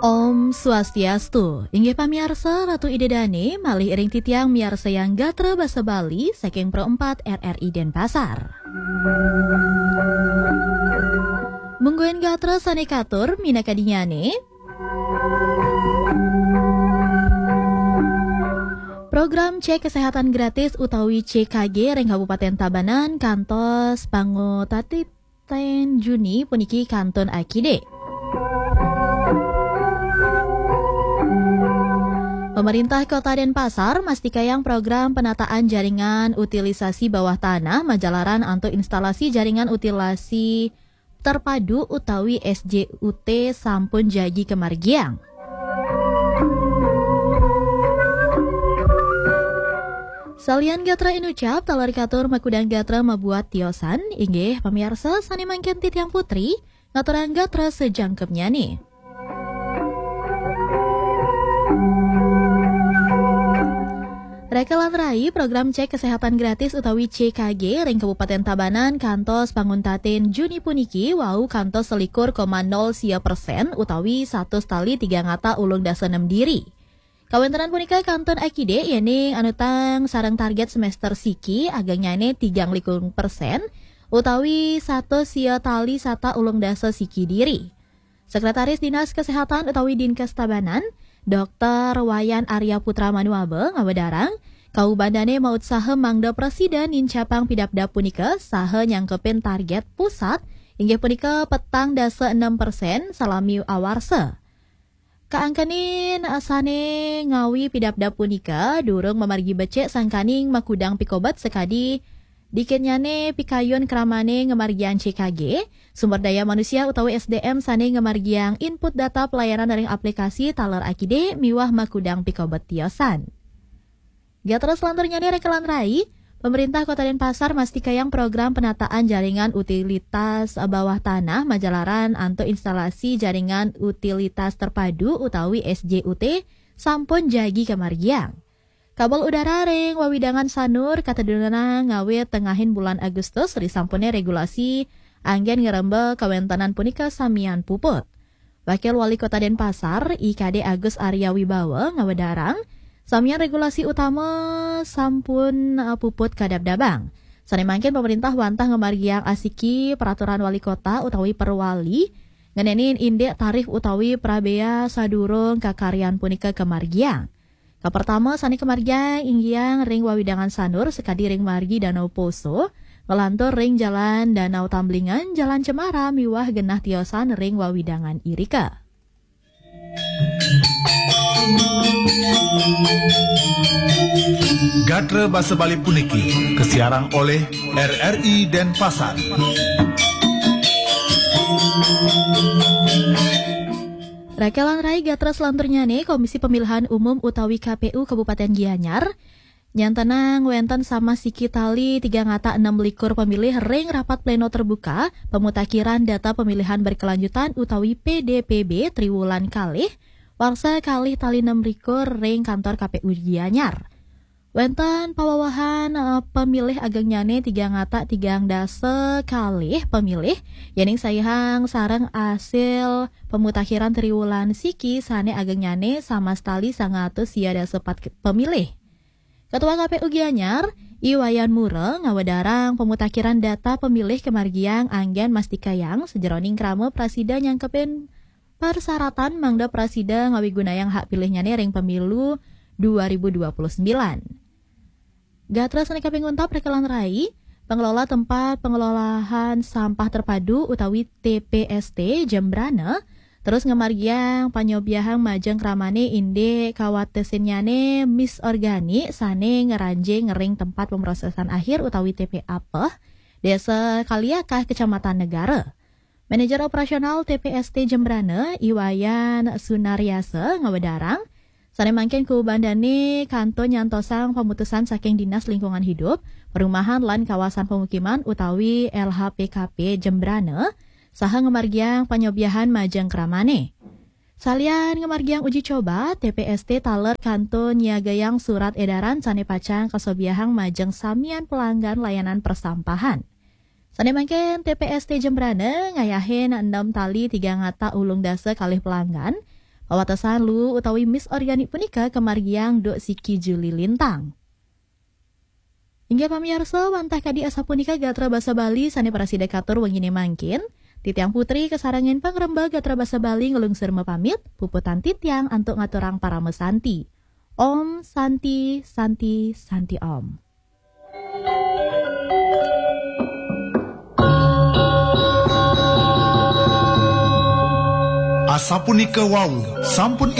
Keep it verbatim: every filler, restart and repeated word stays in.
Om Swastiastu. Inggih pamiarsa, Ratu Ida Dane malih ring titiang miarsayang gatra basa Bali saking Pro empat R R I Denpasar. Mungguing gatra sane katur minakadinyane. Program cek kesehatan gratis utawi C K G ring Kabupaten Tabanan kantos pangutati ten Juni puniki kantun akidik. Pemerintah Kota Denpasar mastikayang program penataan jaringan utilisasi bawah tanah majalaran antuk instalasi jaringan utilisasi terpadu utawi S J U T sampun jagi kamargiang. Salian gatra inucap, taler katur makudang gatra mabuat tiosan, inggih pamiarsa sane mangkin titiang Putri, ngaturang gatra sajangkepnyane. Raka lan rai, program cek kesehatan gratis utawi C K G ring Kabupaten Tabanan kantos panguntatin Juni puniki wau kantos selikur koma nol sia persen utawi satus tali tigang ata ulung dasa nem diri. Kawentenan punika kantun akidik yening anutang sareng target semester siki agengnyane tigang likur persen utawi satus sia tali sata ulung dasa siki diri. Sekretaris Dinas Kesehatan utawi Dinkes Tabanan, Doktor Wayan Arya Putra Manuaba ngawedarang, kaubandane mautsaha mangda prasida nincapang pidabdab punika saha nyangkepin target pusat inggih punika petang dasa enam persen salami awarsa. Kaangkanin sane ngawi pidabdab punika durung mamargi becik sangkaning makudang pikobet sakadi dikinnyane pikayun kramane ngamargiang C K G, sumber daya manusia utawi S D M sane ngamargiang input data pelayanan ring aplikasi taler akidik miwah makudang pikobet tiosan. Gatra selanturnyane raka lan rai, pemerintah Kota Denpasar mastikayang program penataan jaringan utilitas bawah tanah majalaran antuk instalasi jaringan utilitas terpadu utawi S J U T sampun jagi kamargiang. Kabel udara ring wewidangan Sanur katedunang ngawit tengahin bulan Agustus risampune regulasi anggen ngremba kawentenan punika samian puput. Wakil Wali Kota Denpasar, I K D Agus Arya Wibawa ngawedarang, samian regulasi utama sampun, eh, puput kadabdabang. Sane mangkin pemerintah wantah ngamargiang asiki peraturan wali kota utawi perwali ngenenin indik tarif utawi prabea sadurung kakaryan punika kamargiang. Kapertama sane kamargiang inggiang ring wewidangan Sanur sakadi ring margi Danau Poso, ngelantur ring Jalan Danau Tamblingan, Jalan Cemara miwah genah tiosan ring wewidangan irika. Gatra basa Bali puniki kasiarang oleh R R I Denpasar. Raka lan rai, gatra selanturnyane, Komisi Pemilihan Umum utawi K P U Kabupaten Gianyar nyantenang wenten samas siki tali tigang ata enam likur pemilih ring rapat pleno terbuka pemutakhiran data pemilihan berkelanjutan utawi P D P B triwulan kalih warsa kalih tali enam likur ring kantor K P U Gianyar. Wenten pawewehan, eh, pemilih agengnyane tigang ata tigang dasa kalih pemilih, yening saihang sareng asil pemutakhiran triwulan siki sane agengnyane samas tali sangatus sia dasa pat ke-, pemilih. Ketua K P U Gianyar, I Wayan Mura, ngawedarang pemutakhiran data pemilih kamargiang anggen mastikayang sajeroning krama prasida nyangkepin persyaratan mangda prasida ngawigunayang hak pilihnyane ring pemilu dua ribu dua puluh sembilan. Gatra sane kaping untat raka lan rai, pengelola tempat pengelolaan sampah terpadu utawi T P S T Jembrana terus ngamargiang panyobiahang majeng kramane indik kawatesinnyane mis organik sane ngranjing ring tempat pemrosesan akhir utawi T P A peh, Desa Kaliakah, Kecamatan Negara. Manajer Operasional T P S T Jembrana, I Wayan Sunaryasa, ngawedarang, sane mangkin kubandane kantun nyantosang pamutusan saking Dinas Lingkungan Hidup, Perumahan lan Kawasan Pemukiman utawi L H P K P Jembrana, saha ngamargiang panyobiahan majeng kramane. Salian ngamargiang uji coba, T P S T taler kantun nyiagayang surat edaran sane pacang kasobiahang majeng samian pelanggan layanan persampahan. Sane mangkin T P S T Jembrana ngayahin enam tali tigang ata ulung dasa kalih pelanggan, Wawatesan Luwu utawi Miss Organik punika kamargiang Duk Siki Juli Lintang. Inggih pamiarsa, wantah kadi asapunika gatra basa Bali sane prasida katur wengine mangkin. Titiang Putri kasarengin pangrembag gatra basa Bali nglungsur mapamit, puputang titiang antuk ngaturang parama santi. Om Santi, Santi, Santi Om. Asapunika wau sampun